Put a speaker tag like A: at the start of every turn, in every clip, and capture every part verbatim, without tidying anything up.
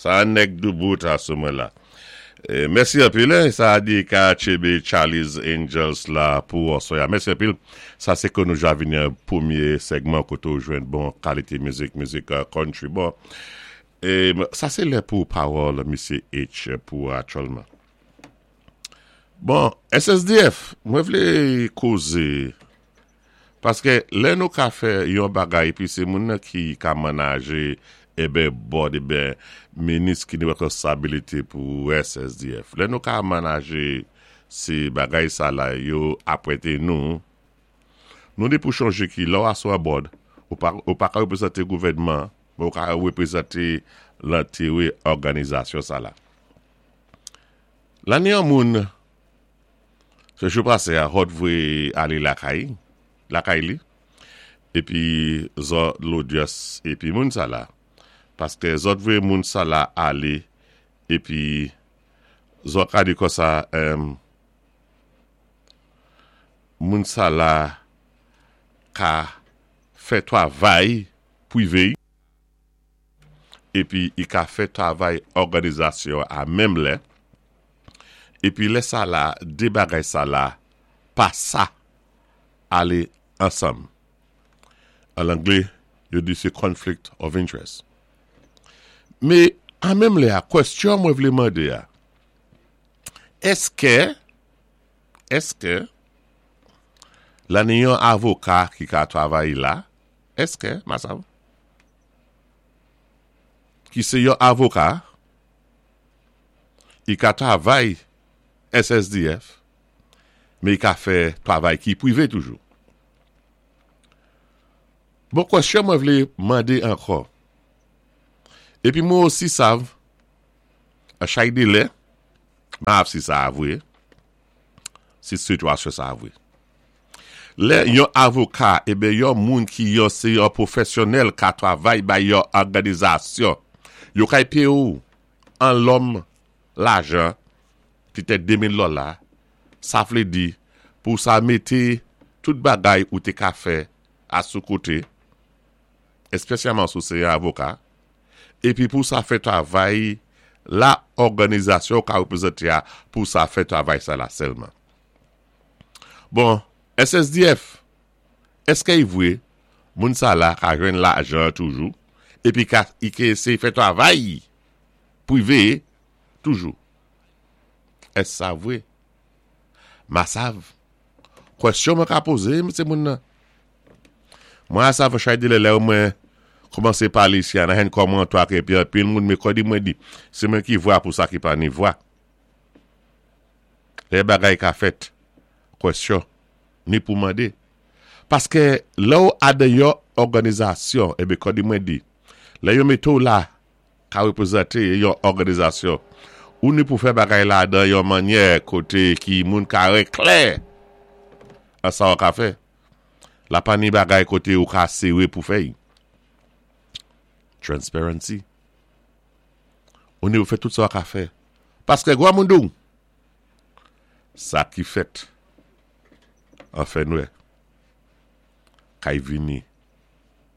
A: Sa nèg doubout asou mwen la. Eh, mèsi anpil, eh, sa di ka tchébé Charlie's Angels la pou aswè a. Mèsi anpil. Sa sé ke nou ja vini an pwémyé segman koté ou jwenn bon kalité mizik, mizik uh, country. Bon, eh, sa sé lè pou pawòl Misyé H pou aktyèlman. Bon, S S D F, mwen vlé kozé paské lè nou ka fè yon bagay pi sé moun nan ki ka manajé eben board eben minis ki ni responsabilité pou S S D F. Lè nou ka manajé sé bagay sa la yo apwété nou, nou ni pou chanjé ki lò asou a board, ou pa, ou pa ka wépwézanté gouvèdman, men ou ka wépwézanté lentéwé òganizasyon sa la. La ni yon moun, se jou pasé a hot vwé alé lakay, lakay li, épi zòt lodyans épi moun sa la. Paské zòt vwé moun sa la alé, épi zòt ka di konsa, em, moun sa la ka fè twavay pwivé, épi i ka fè twavay òganizasyon a menm lè, épi lè sa la, dé bagay sa la, pa sa alé ansanm. An anglé, yo di sé conflict of interest. Mé, an menm lè a, kwèstyon mwen vlé mandé a, èské, èské, la ni yon avoka ki ka twavay la, èské, masav, ki sé yon avoka, i ka twavay S S D F, mé i ka fè twavay ki pwivé toujou? Bon, kwèstyon mwen vlé mandé ankò. Épi mwen osi sav, a chay de lè, ma ap si sa avwe, si sitwasyon sa avwe. Lè yon avoka, ébé yon moun ki yon sé yon pwofèsyonèl ka twavay bay yon òganizasyon, yo kay péyé ou an lòm lajan, pitèt de mil dola, sa vlé di pou sa mété tout bagay ou té ka fè a sou koté, èspésyalman sou sé yon avoka, épi pou sa fè twavay la òganizasyon ka wépwézanté a, pou sa fè twavay sa la sèlman. Bon, S S D F, èské i vwé moun sa la ka jwenn lajan toujou, épi ka i ké sé fè twavay pwivé toujou? Ès sa vwé? Masav. Kwèstyon mwen ka pozé, msé moun nan. Mwen a sav chay de lè lè mwen kòmansé palé isi an, hen kòman to ak épi anpil moun mé kòdi mwen di, sé mwen ki vwa pou sa ki pa ni vwa. Lè bagay ka fèt, kwèstyon, ni pou mandé. Paské lè ou adan yon òganizasyon, ébé kòdi mwen di, lè yo mété ou la, ka wépwézanté yon òganizasyon, ou ni pou fè bagay la dan yon mannyè koté ki moun ka wè klè an sa ou ka fè. La pa ni bagay koté ou ka séwé pou fè y. Transparency. Ou ni pou fè tout sa ou ka fè. Paské gwa moun dou, sa ki fèt, an fè nwè, kay vini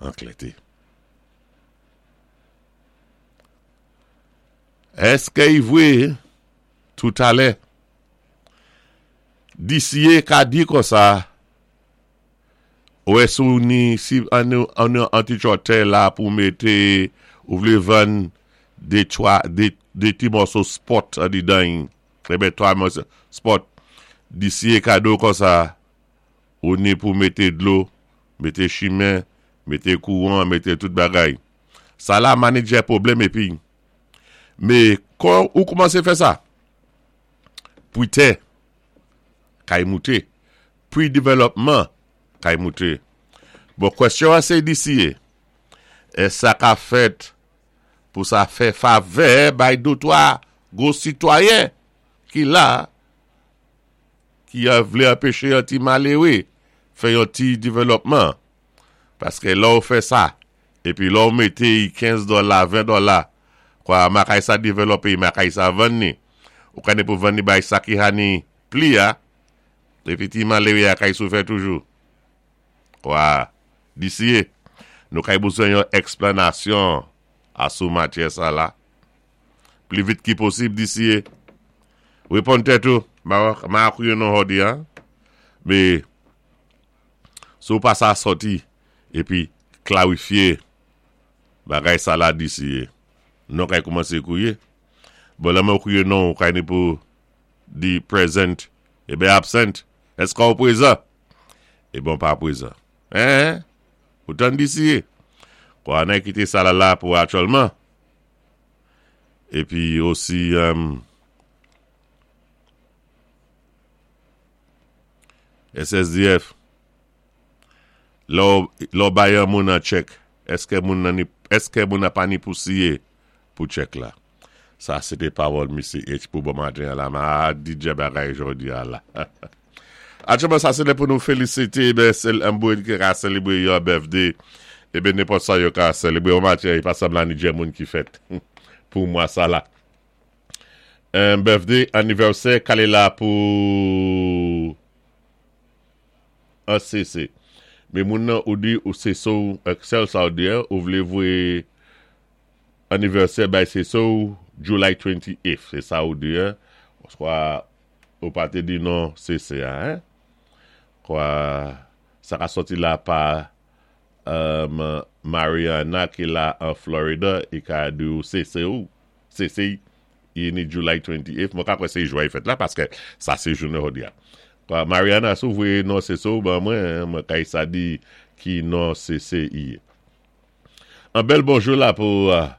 A: an klèté. Èské i vwé tout alè? D C A ka di konsa, ou è sou ni si an an an ti chòtè la pou mété ou vlé vann dé twa dé dé ti mòso spot an di dan, ébé twa mòso spot, D C A ka di konsa, ou ni pou mété dlo, mété chimen, mété kouwan, mété tout bagay. Sa la manadjè pwoblèm épi. Mé kon ou kòmansé fè sa? Pwi tè, kay mouté. Pwi développement, kay mouté. Bon, kwèstyon an sé D C A. É sa ka fèt pou sa fè favè bay dé twa gwo sitwayen ki la, ki a vlé anpéché yon ti maléwé fè yon ti développement. Paské lò ou fè sa, épi lò ou mété kenz dola, ven dola, kwa makay sa développé, makay sa vann ni. Ou kane pou vann ni bay sa ki hani pli a, épi ti maléwé a kay soufè toujou. Kwa, D C A, nou kay bezwen yon èksplanasyon Asou matyè sa la. Pli vit ki posib disi. Wéponn tèt ou, ma akwiyé non jòdi an. Mé si ou pa sa sòti épi klarifyé bagay sa la disi. Non kay koumansé kwiyé. Bon lè mwen kwiyé non kay ni pou di present é ben absent. Èské ou pwézan? É bon pa pwézan. Hein? Ou tann disi. Kwa anay kité sa la la pou aktyèlman. Épi osi um, S S D F lò lò bay yon moun an chèk, èské moun nan ni èské moun nan pa ni pou siyé pou chèk la? Sa sé té pawòl Misye H pou bon maten la ma D J bagay jòdi a la. Aktyèlman sa sé lè pou nou félisité ben sèl an ki ka sélébré yon birthday é ben nenpòt sa yo ka sélébré bon maten i pa sanbla ni djé moun ki fèt pou mwa sa la. Un birthday anniversaire kalé la pou un C C. Mé moun nan ou di ou sé so Excel sa ou di ou vlé vwé anniversaire bay sé so July twenty-eighth. Sé sa ou di hein. Swa ou pa té di non C C hein. Kwa sa ka sòti la pa um, Mariana ki la an Florida i ka di ou C C ou C C i ni July twenty-eighth. Mwen ka kwè sé jwa i fèt la paské sa sé jounen jòdi a. Kwa Mariana sou vwé non C C ou ban mwen, mwen kay sa di ki non C C i. An bèl bonjou la pou uh,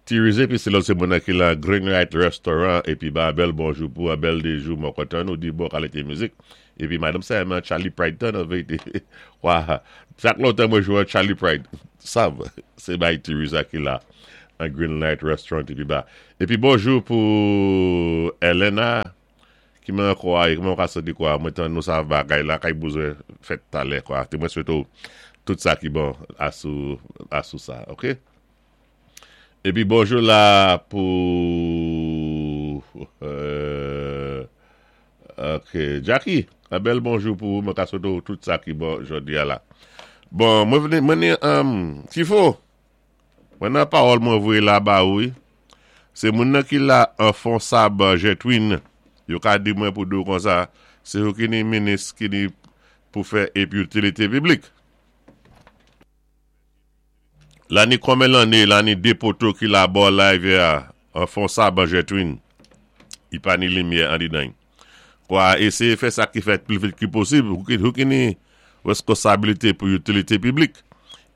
A: Tirize pi se lò se moun ki la Green Light Restaurant épi ba bèl bonjou pou an bèl déjou mwen kontan nou di bon kalité mizik. Épi madanm sa renmen Charlie Pride tan an vérité. Wa, chak lontan mwen jwé Charlie Pride. Sav, sé bay Tiriza ki la an Green Light Restaurant épi ba. Épi bonjou pou Elena ki mwen kwa, ki mwen ka di kwa, mwen tan nou sa bagay la kay bezwen fèt talè kwa. Té mwen swété tout sa ki bon asou asou sa, OK? Épi bonjou la pou euh, OK, Jackie, un bèl bonjou pou mwen ka swété tout sa ki bon jòdi a la. Bon, mwen vini mwen ni um, Tifo. Mwen nan pawòl mwen vwé la ba wi. Sé moun nan ki la an fon sab Jetwin. Yo ka di mwen pou di kon sa, sé ou ki ni minis ki ni pou fè épi itilité piblik. La ni konmen lanné, la ni dé poto ki la bò live a, an fon sab an Jetwin. I pa ni limyè an didan. Kwa éséyé fè sa ki fèt pli vit ki posib, ou ki, ou ki ni wéskonsabilité pou itilité piblik.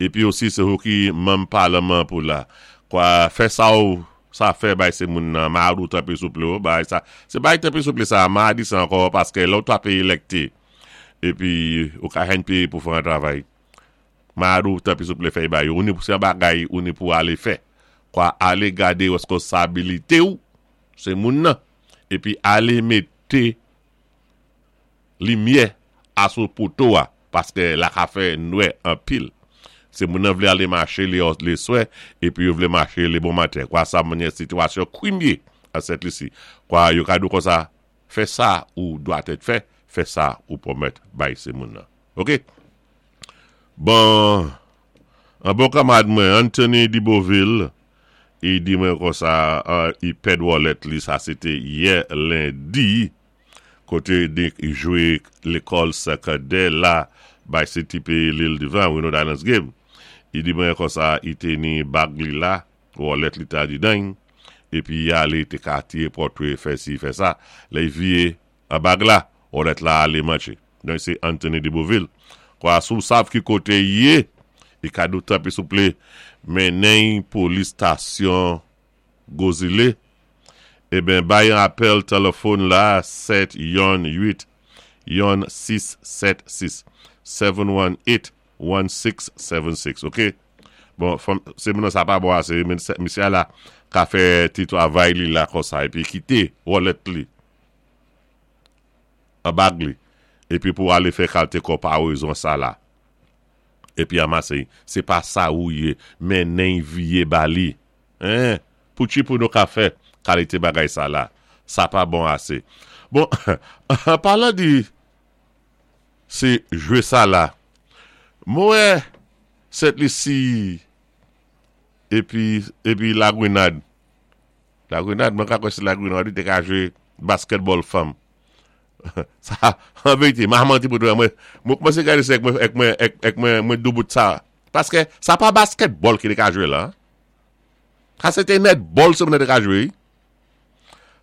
A: Épi osi sé ou ki manm palman pou la. Kwa fè sa ou sa fè bay sé moun nan ma ou tanpri souplé ou, bay sa. Sé bay tanpri souplé sa, ma di sa ankò paské lò ta péyé élekté. Épi ou ka hen péyé pou fè an travay. Ma ou tanpri souplé fè bay. Ou ni pou sé bagay ou ni pou alé fè. Kwa alé gadé wéskonsabilité ou, sé moun nan. Épi alé mété limyè asou poto a paské la ka fè nwè an pil. Sé moun nan vlé alé maché lé lé swè épi yo vlé maché lé bon maten. Kwa sa manyè sitwasyon kwimyé a Sent Lisi. Kwa yo ka di kon sa, fè sa ou dwa tèt fè, fè sa ou pwomèt bay sé moun nan. OK? Bon, an bon kanmad mwen, Anthony Diboville, i di mwen kon sa, uh, i pèd wallet li, sa sété yè lendi, koté di jwé lékòl sékondè la, bay C T P L'Île du Vent, Windward Islands Game. I di mwen kon sa, i té ni bag li la, wallet li ta di dan, épi i alé té ka tiwé pòtwé fè si, fè sa, lè i viyé a bag la, wallet la alé manché. Donk sé Anthony Diboville. Kwa sou sav ki koté yé, i ka di ou tanpri souplé, mennen police station Gozile, é ben bay an apèl téléfòn la sèt youn uit youn sis sèt sis seven one eight one six seven six, OK? Bon, sé moun sa pa bon asé, men misyé la ka fè ti travay li la kon sa, épi kité wallet li, a bag li, épi pou alé fè kalité konparezon sa la, épi amasé, sé pa sa ou yé, mennen viyé ba li, hein, pou chi pou nou ka fè kalité bagay sa la, sa pa bon asé. Bon, an palan di sé jwé sa la, mwen Sent Lisi Épi, épi La Grenade. La Grenade, mwen ka kwè sé La Grenade, té ka jwé basketball fanm. Sa, an vérité, ma manti pou mwen, mwen koumansé gadé sa èk mwen, èk mwen, èk, èk mwen, mwen doubout sa. Paské sa pa basketball ki té ka jwé la. Sa sé té netball sé moun té ka jwé.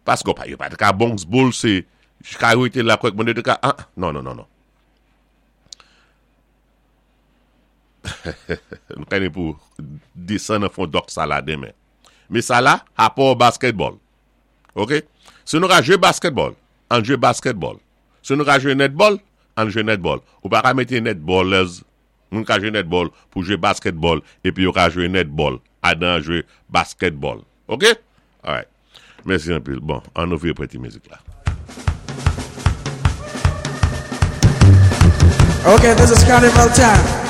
A: Paské pa, yo pa té ka bounce ball sé, ka rété la kwè moun té ka, ah, non, non, non, non. Nou ka ni pou desann nan fon dòk sa la denmen. Mé sa la, rapò basketball. Ok? Si nou ka jwé basketball, ann jwé basketball. Si nou ka jwé netball, ann jwé netball. Ou pa ka mété netballers, moun ka jwé netball pou jwé basketball, épi yo ka jwé netball, adan jwé basketball. Ok? Alright. Mèsi anpil. Bon, ann ouvri ti mizik la.
B: Okay, this is carnival time.